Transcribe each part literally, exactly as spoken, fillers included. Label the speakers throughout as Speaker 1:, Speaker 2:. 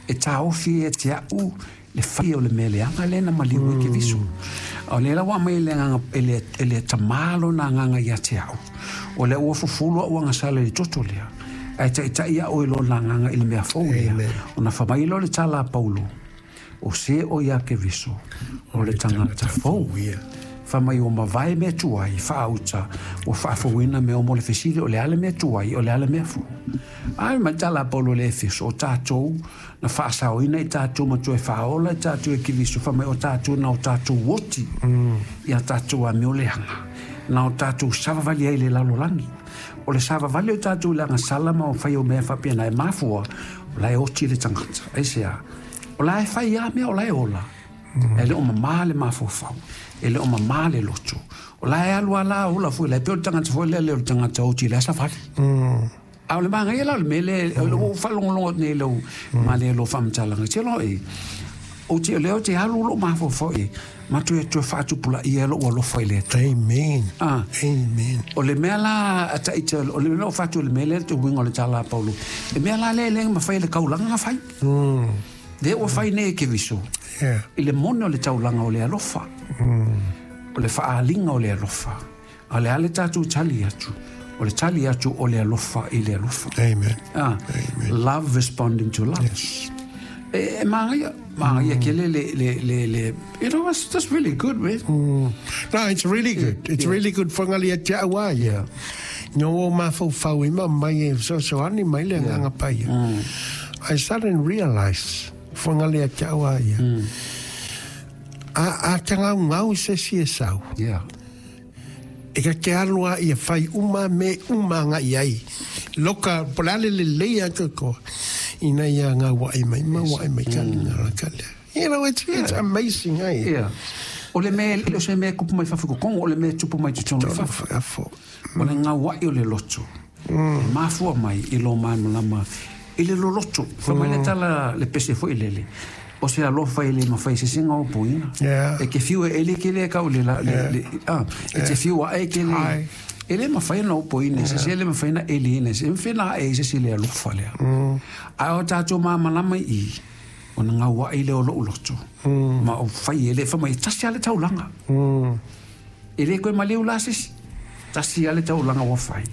Speaker 1: E taofi e te au le fai o le mea leaga lea na maliu ai Keriso. A o lea la ua aumai le agaga e le, e le tamā lona agaga ia te au. O lea ua fufulu au agasala i le toto lea. Ae taitai au i lona agaga i le mea fou lea. Ona fai mai loa le tala a Paulo, o se o ia Keriso, o le tagata fou. Fai mai ua mavae mea tuai, faauta, ua faafouina mea uma. O le fesili, o le a le mea tuai, o le a le mea fou? Ai mai tala a Paulo le Efeso, o tatou na faasaoina i tatou ma toe faaola i tatou e Keriso, fai mai o tatou na o tatou oti ia tatou amio leaga, na o tatou savavali ai i le lalolagi. O le savavali o tatou i le agasala ma o fai o mea faapena e mafua, o la e oti le tagata. Aisea? O la e fai a mea, o la e ola. E le o mamā le mafaufau, e le o mamā le loto. O la e alu ala ola foi, la e pei o le tagata foi lea le o le tagata oti i le savali. A o le magaia la o le mea lea, o le ua ou faalogologo atu nei i lau male lo faamatalaga. Te loa e, o te lea o te alu lou mafaufau e, ma toe toe faatupulaia lou alofa i le Atua.
Speaker 2: Amen.
Speaker 1: Ah.
Speaker 2: Amen.
Speaker 1: O le mea la a taita, o le mea o fatu o le mea lea te uiga o le tala a Paulo. E mea la lea e le mafai e le taulaga na fai. Lea ua fai nei e Keriso.
Speaker 2: Yeah.
Speaker 1: I le moni o le taulaga o le alofa. O le faaaliga o le alofa. A o le a le tatou tali atu? O le tali atu o le alofa i le alofa.
Speaker 2: Amen.
Speaker 1: Ah,
Speaker 2: Amen.
Speaker 1: love responding to love.
Speaker 2: Yes.
Speaker 1: E, e magaia, magaia kele le, le, le, le, you know, it's just really good, man.
Speaker 2: Mm. No, it's really good. It's
Speaker 1: Yeah.
Speaker 2: really good whangali a te au a ia. No o mafaufau i ma mai e fesoasoani mai le agaga paia. I suddenly realize whangali a te au a ia. A, a tagaugau se si e sau.
Speaker 1: Yeah.
Speaker 2: E ka te aloa ia fai uma me uma nga i ai. Loka, polale le lea te ko. Ina ia ngā wai mai, ma wai mai ka linga la ka lea. You know, it's, it's amazing, eh?
Speaker 1: Yeah. O le mea, le o se mea kupu mai fafo i kokongo, o le mea tupu mai totonu i fafo.
Speaker 2: Fafo.
Speaker 1: O le ngauai o le loto. E mafua mai i lo malamalama i le loloto. Fai mai le tala le pese foi lele. O se alofa i le mafai se singa o poina.
Speaker 2: Yeah.
Speaker 1: E ke fiu e ele ke le kau le la, le, le, ah, e te fiu a e ke le.
Speaker 2: Ai.
Speaker 1: E le mafai na o poina, se se le mafai na ele ina, se mafai na e se se le alofa lea. A o tātou malamalama i, o na ngauai le o lou loto. Ma o fai e le, fai mai, tasi a le taulaga. E le koe maleu la sisi. Tasi a le taulaga ua fai.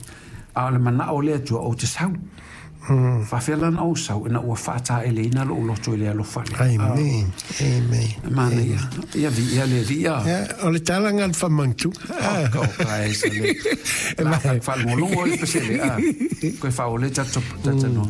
Speaker 1: A o le manao le Atua ou te sau. Faafea la na ou sau, ina ua faataeleina lou loto i le alofa lea.
Speaker 2: Amen. Amen.
Speaker 1: Mana ia. Ia vi ia le vi ia.
Speaker 2: Yeah, o le tala ngā le whamantu.
Speaker 1: Oh, ka o ka e sa le. La fa fa ngolongo le pesele. Ah. Koe fa o le tata tata no.